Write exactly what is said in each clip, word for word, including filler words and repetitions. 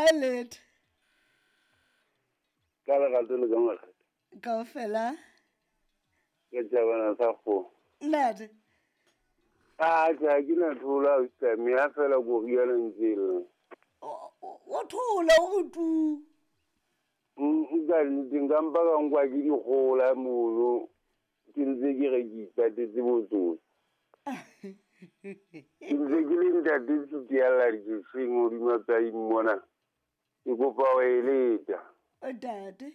kae lete? Ka lerato le ka makgetho. Kaofela. Ke tjabana sa kgomo. Ntate. A tjhe, ke na thola ausi ha fela ko riana ntse le. O thola o re tu. Nka nnete nka mpa ka nkwa ke dikgola mono. Ke ntse ke re ke ipatetse botsotsi. Ke ntse ke le ntate Tsutialla dikeseng hodima tsaing mona. Ke kopa ho eleta. Ntate.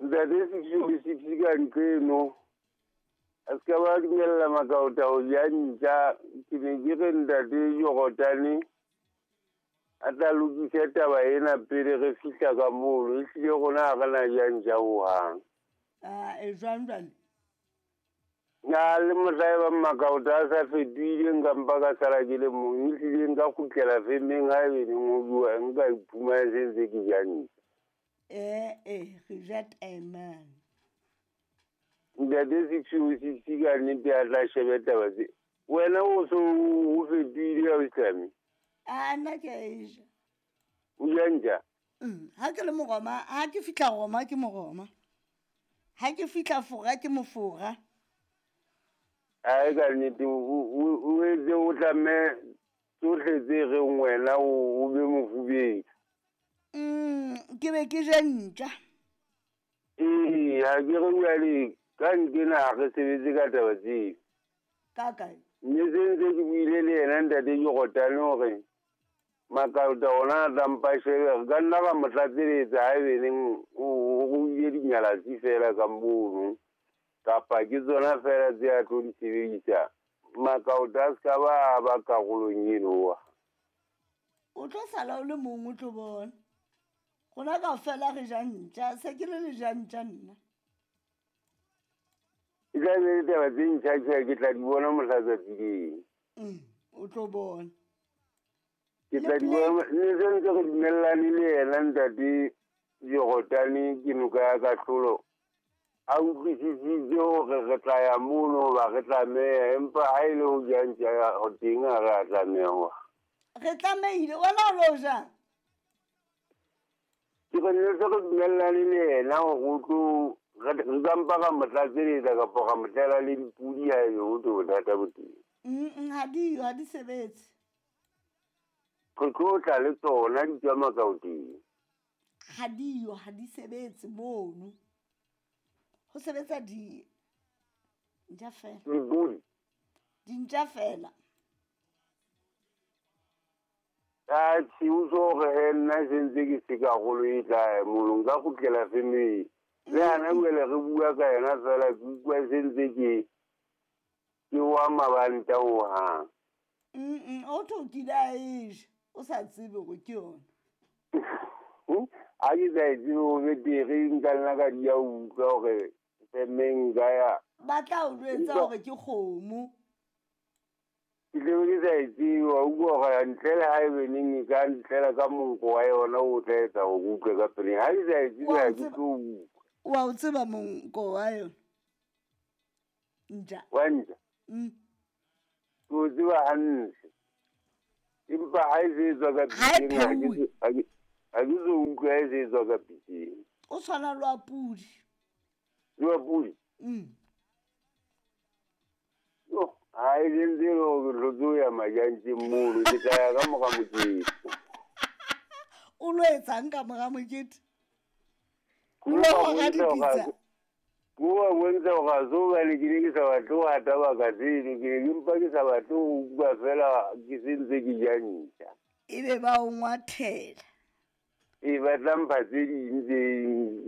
Ntate six oh six ka nqeno. A se ka ba dumella makaota ho ja ntja. Ke ne ke re ntate Jorotane a tla lokise taba ena pele re fihla ka mono. Ehlile rona ha re na ja ntja hohang. Ah, e jwang jwale? Na le mohla e bang makaota a sa fetohile nka mpa ka sala ke le mong. Ehlile nka kgutlela femeng ha ebe neng ho bua nka iphumana se ntse ke ja ntja. Eh, eh, re ja taemane. Ntate six oh six ka nnete a tla shebe taba tse. Wena o so o fetohile ausi? A nna ke a e ja. O ja ntja? Ha ke le Moroma, ha ke fihla Roma ke Moroma. Ha ke fihla Fora ke Mofora. Ai ka nnete o etse o tlamme tsohle tse reng wena o be mofubedu. Mm, ke be ke ja ntja. Ee, ha ke re jwale ka nkena ha re sebetse ka taba tseo. Ka kae? Mme se ntse ke buile le yena ntate Jorotane hore makaota ona a tla mpa shebe. Re ka nna ra mo tlatseletsa haebe neng o ruile dinyalatsi fela ka mono. Kapa ke tsona fela tse a tlo di sebedisa. Makaota a se ka ba ba karolong eno. O tlo sala o le mong o tlo bona. Rona kaofela re ja ntja, se ke le le ja ntja nna. E tla be le taba tse ntjha tjhe ke tla di bona mohla tsatsi leng. Mm, o tlo bona. Ke tla di bona ne se ntse re dumellane le yena ntate Jorotane ke noka ya kahlolo. A utlwisisitse hore re tla ya mono hoba re tlameha, empa ha e le ho ja ntja ho teng ha re a tlameha. Re tlamehile, wena o lo jang? Ke re ne se re dumellane le yena hore o tlo re ka mpa ra mo tlatseletsa kapa ra mo tlela le dipudi ha ebe ho tlo bothata bo teng. Mm, ha di ha di sebetse. Re tlo tla le tsona di tswa makaoteng. Ha di yo, ha di sebetse mono. Ho sebetsa di ntja fela. Dipudi. Dintja fela. A tjhe, o tlo hore he nna se ntse ke se karolo e tla mono nka kgutlela femeng. Le hana jwale re bua ka yona fela ke utlwa se ntse ke ke wa mabanta hohang. Mm, o tlo kile a e ja, o sa tsebe hore ke yona. Ha ke sa e tsebe ho betere nka nna ka di ya ho utlwa hore femeng nka ya. Ba tla o jwetsa hore ke kgomo. Ke tlabe ke sa e tsebe, wa utlwa hore ntle le haebe neng e ka ntlela ka monko wa yona o tla etsa hore ke utlwe ka peleng. Ha ke sa e tsebe ha ke tlo utlwa. Wa o tseba monko wa yona? Ntja. Wa ntja? Mm. Ke o tseba hantle. Empa ha e se e tswa ka Ha e piteng, ha ke pheuwe. so ha ke ha ke so utlwe ha e se e tswa ka piteng. O tshwana le wa pudi. Le wa pudi? Mm. Yo, ha e le ntse e le hore ke hlotse ho ya majantjeng mono, ke tla ya ka mora mokete. O lo etsang ka mora mokete? Ke O lo wa hora bontsha hore ha dipitsa? se ke wa bontsha hore ha se hobane ke ne ke sa batle ho hata baka tseno, ke ne ke mpa ke sa batle ho utlwa fela ke se ntse ke ja ntja. Ebe ba o ngwathela. E ba tla mpha tse ding tse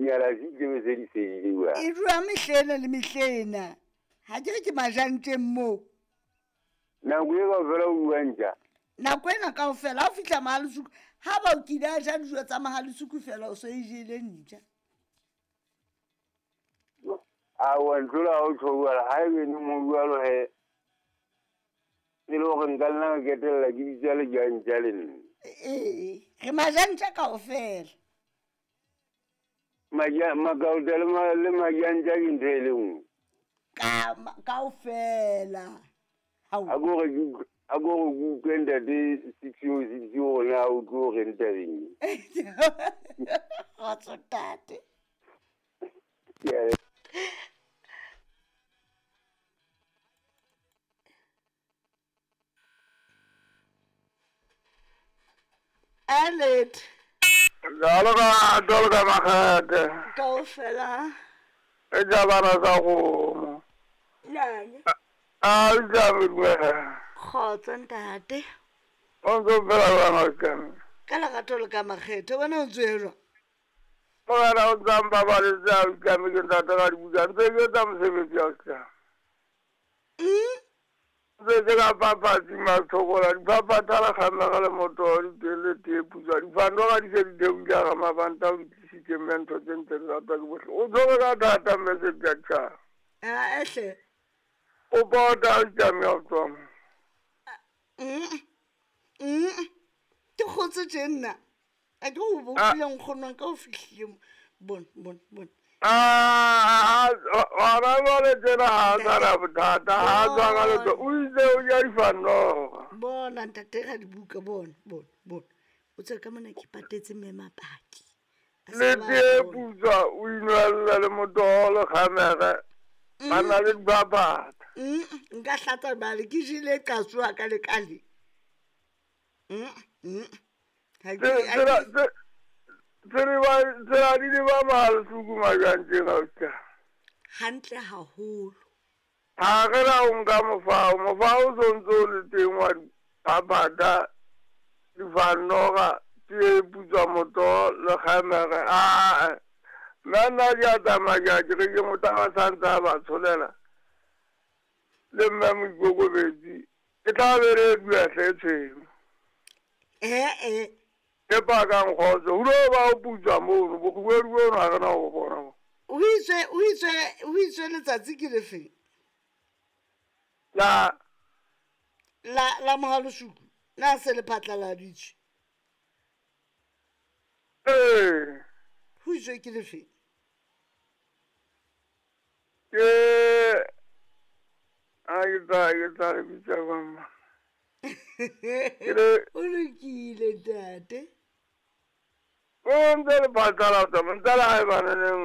nyalatsi tse be se di fedile jwale. E dula mehlena le mehlena. Ha ke re ke majantjeng moo. Nako e kaofela o bua ntja? Nako ena kaofela ha o fihla Mahalesuku, ha ba o kile a ja dijo tsa Mahalesuku fela o so e jele ntja. Aowa ntlola ha o tjho jwalo, haebe neng ho jwalo he, e le hore nka nna ka ketella ke bitsa lejantja le nna. Ee, re majantja kaofela. Maja makaota le ma le majantja ke ntho e le nngwe. Ka kaofela. Hao. A ko re ke utlwe A ko re ke utlwe ntate Siphiwo Siphiwo hore na o tlo reng tabeng e. Kgotso ntate. Ke a Alet. Jalo ka jalo ka makgethe. Kaofela. E ja bana sa kgomo. Nang. A ja dumela. Kgotso ntate. O ntso phela jwang ausi? Ka lerato le ka makgethe wena o ntso jwang? Morena o ntsa mpabaletse ausi ke ntate ka dibuka ntse ke etsa mosebetsi ausi. Mm? Ntse ke ka papatsi mathokola diphaphatha le kgamega le motoho di tee putswa difanoga di se di theohile ga mabanta o di tlisitse mme ntho tse ntse di ratwa ke bohle. O tshwere ka thata mme sepjatjhaba. Ah, ehle. O pota ausi ya ho tswa mo. Mm. Mm. Ke kgotse tje nna. A ke o bopile nkgono wa ka o fihlile mo. Bona, bona, bona. Ah, hona jwale tjena ha a sa na bothata, ha a tswa ka letho, o itse o ja difanoga. Bona ntate ga dibuka bona, bona, bona. O tswe ka mona ke patetse mme mapaki. A se Le ba tee bona. putswa o inwelle le motoho le kgamege, ba na le diphaphatha. Mm, nka hlatsa bale ke jele qatsoa ka le ka le. Mm, mm. Ha ke Tse- ha Tsela ke tse- tsela ba- tsela di le ba mahalesuku majwang tjena ausi. hantle haholo. Ha re na o nka mofao, mofao o sontso o le teng wa diphaphatha, difanoga, tee putswa motoho le kgamege. Aa, mme nna ke a tsamaya ke a ke re ke motho a santse a ba tsholela. Le mme Moikokobetsi, e tla be re dula hle e tshweu. Eh eh. Ke pakang kgotso, ho lo ba o putswa mono, bokgubedu bono ha re na ho bo bona mo. O itswe o itswe o itswe letsatsi ke lefeng? La La la mohalosuku. Na se le phatlaladitswe. ee, Ho itswe ke lefeng? ke a ke tla ke tla le bitsa jwang ma. Ke le O lokile ntate. o ntse le phatlalatsa, ntse le haebaneneng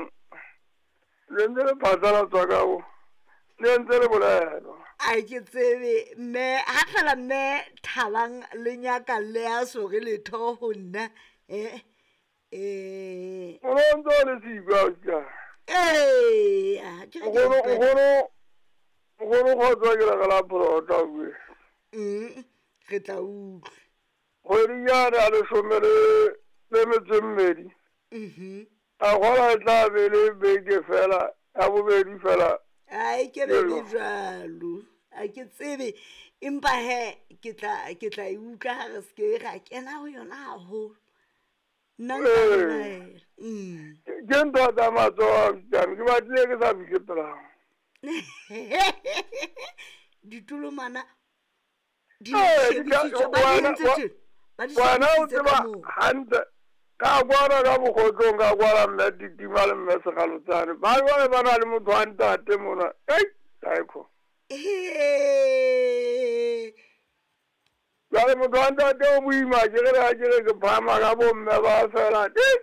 le ntse le phatlalatswa ka bo, le ntse le bolelwa. A ke tsebe mme ha fela mme Thabang le nyaka le a so re letho ho nna. Eh eh O no ntse o le siko ausi wa ka. eh ah, ke re ke Nkgono utlwa- nkgono nkgono kgotso ke re la pholota bue. Mm, re tla utlwa. Kgwedi yane ya leshome le le metso e mmedi. Mhm. A kgola e tla be le beke fela, ya bobedi fela. Ai ke be le Jwalo. jwalo. A ke tsebe empa he ke tla ke tla e utlwa ha re se ke ra kena ho yona haholo. Nna nka Ee. belaela. Mm. Ke ntho tsa matsoho ausi wa me, ke batlile ke sa fihle pela hao. Ditolomana di Ee, di ka- shebisitswe, ba di wena- entse wa- tjena, ba di Wena o shebisitse ka tseba moo. hantle ka kwana ka bokgotlong ka kwana mme Titima le mme Sekgalotsane. Ba jwale ba na le motho wa ntate mona. Ei, taekho. Ee. Jwale motho wa ntate o boima ke re ha ke re ke phahama ka bomme ba fela. Ei,